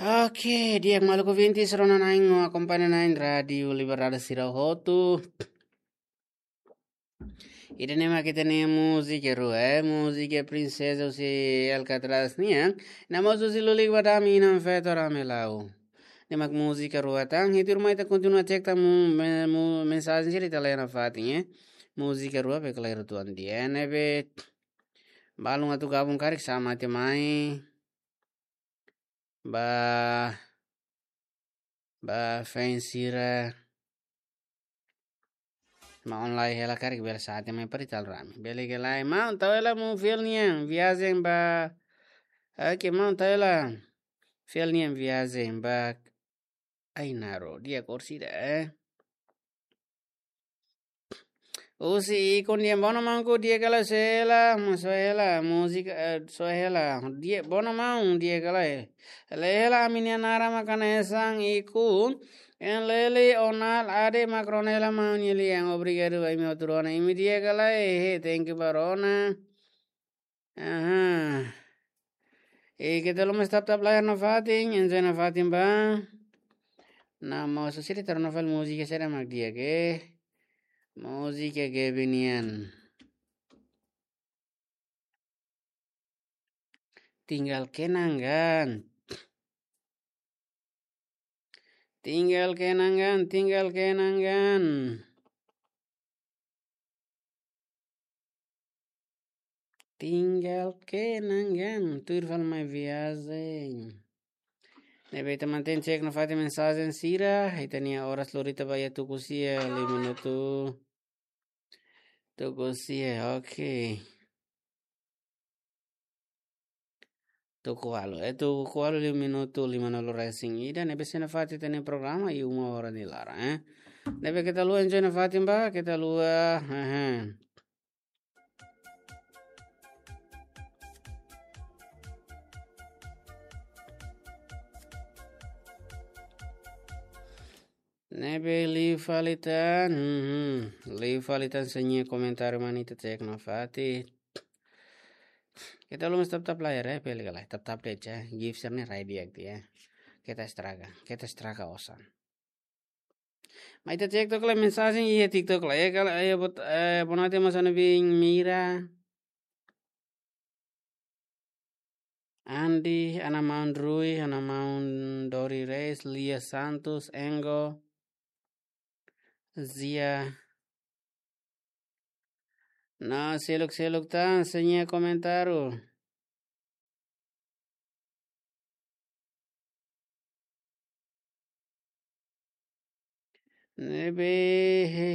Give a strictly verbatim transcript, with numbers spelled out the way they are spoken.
Oke, di'ak maluk ouvintes, rona na'in no akompaña na'in Rádiu Liberdade sira hotu. Ida-ne'e mak ita-nia múzika rua, eh, múzika Prinseza husi Alcatraz nian. Ne'e mós husi Lulik Badami, Inan Feto Ramelau. Ne'e mak múzika rua tan, hitu irmai ita kontinua cek tan mu-, me-, mu-, mensajen sira ita lee nafatin, eh. Múzika rua be klaru tuan dia, ne'ebé balun atu gabung karik xamate mai. Ba, ba fans sira. Maun lai hela karik bele xamate mai para ita rame. Bele ka lae, maun tau hela maun fiel nian viajen ba. Oke, maun tau hela fiel nian viajen ba. Ai naro, di'ak orsida, eh. Husi Ikun di'ak, bono maun ku di'ak ka lae, soe hela, mo soe hela, múzika, eh, soe hela, di'ak, bono maun di'ak ka lae. Lee hela ami-nia naran mak hanesan Ikun, en leli onal ade mak rona hela maun nia lian, obrigadu ba imi hotu rona, imi di'ak ka lae, he, thank you ba rona. Aha. E keta haluha mós tap-tap layar nafatin, enjoy nafatin ba. Ne'e mós husi ita rona fali múzika saida mak di'ak, eh. Múzika Gaby nian. Tinggal kenangan. Tinggal kenangan, tinggal kenangan. Tinggal kenangan, tuir fali mai viajen. Ne'ebé ita mantein cek nafatin mensajen sira, ita-nia oras lori ita ba iha tuku sia lima minutu. Tuku sia, oke. Tuku ualu, eh, tuku ualu lima minutu, limanulu resin ida, ne'ebé sei nafatin ita-nia programa iha uma hora nia laran, eh. Ne'ebé keta haluha enjoy nafatin ba, keta haluha, hehe. Ne'ebé liu fali tan, mhm, liu fali tan sira-nia komentáriu mak ita cek nafatin. Keta haluha mós tap-tap layar, eh, peli kalai, tap-tap de'it, eh, gift sira-ne'e rai di'ak tiha, eh. Keta estraga, keta estraga osan. Mai ita cek tok lai mensajen iha TikTok lai, eh, kala, eh, bot-, eh, Bonate Masana bin Mira. Andi, Ana Maun Rui, Ana Maun Dori Reis, Lia Santos, Engo, Zia. No, seluk-seluk tan sira-nia komentáriu. Ne'ebé, he,